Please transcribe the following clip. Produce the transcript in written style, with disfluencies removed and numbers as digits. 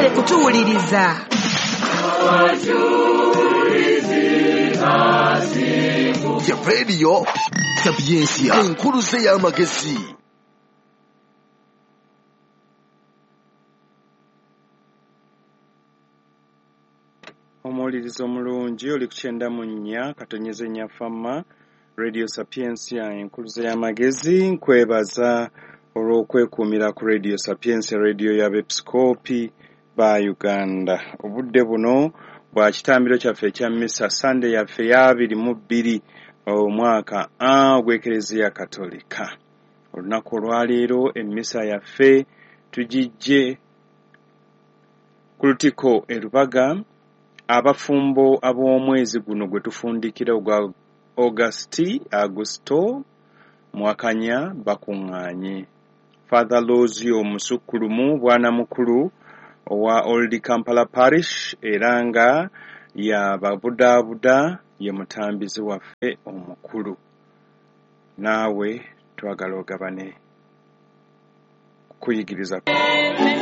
Mwebale kutuwuliriza. Ya Radio Sapientia, enkuluze y'amagezi. Omuwuliriza omulungi oli ku 94.4 Fama Radio Sapientia, enkuluze y'amagezi. Nkwebaza olw'okwekuumira ku Radio Sapientia, radio y'abepisikoopi ba Uganda. Obudde buno bwa kitambiro kyaffe ekya misa, Sande yaffe ya 22 omwaka ogw'Ekereziya Katolika. Olunaku olwaleero emmisa yaffe tugijje ku Lutikko e Lubaga. Abafumbo ab'omwezi guno gwe tufundikira ogwa Augusito Mwakanya bakuŋŋaanye. Father Lozio Musukkulumu bwana mukulu owa Old Kampala Parish era nga yababudaabuda, ye mutambizi waffe omukulu. Naawe twagala ogabane kuyigiriza.